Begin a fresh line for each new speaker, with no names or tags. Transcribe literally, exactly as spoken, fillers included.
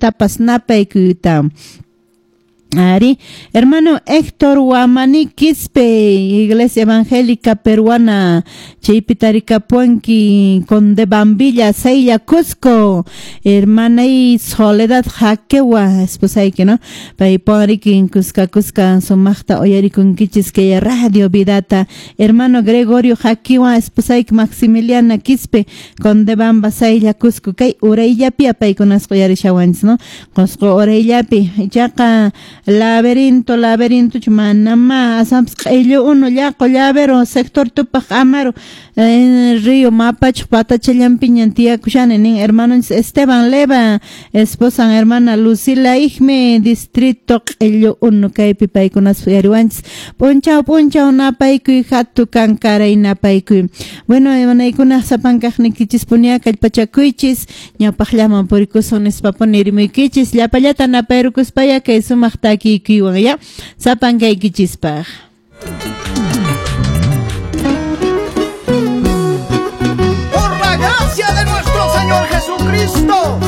Llatapas napaykuyta. Ari, hermano Héctor Guamani Quispe, Iglesia Evangélica Peruana, chaypi tarikapuanki, Condebambilla, Saylla, Cusco, hermana y Soledad Jaquewa, esposayki, ¿no? Payparikin, Cusca, Cusca, sumaqta uyarikunkichis kay Radio Vidata, hermano Gregorio Jaquewa, esposayki Maximiliana Quispe, Condebamba, Saylla, Cusco, kay urayllapi paykunasqa uyarishawanchis, ¿no? Qosqo urayllapi, ichaqa laberinto, laberinto, manama, asampas q'illu unu, llaqu, llavero, sector Tupaq Amaru, eh, río Mapacho, patachallampiñan tiyakushani, nin hermano Esteban Leva, esposa hermana Lucila Ijme, distrito q'illu unu, kaypi paykunas uyariwanchis, p'unchaw p'unchaw napaykuy, hatu kankaray napaykuy. Bueno, hermanaykuna sapankaqnikichis punia kallpachakuychis, ñawpaqllaman purikusun nispapuni rimuykichis, llapallata napayrukuspaya kay sumaq takikuywan ya sapankaykichispaq.
Por la gracia de nuestro Señor Jesucristo.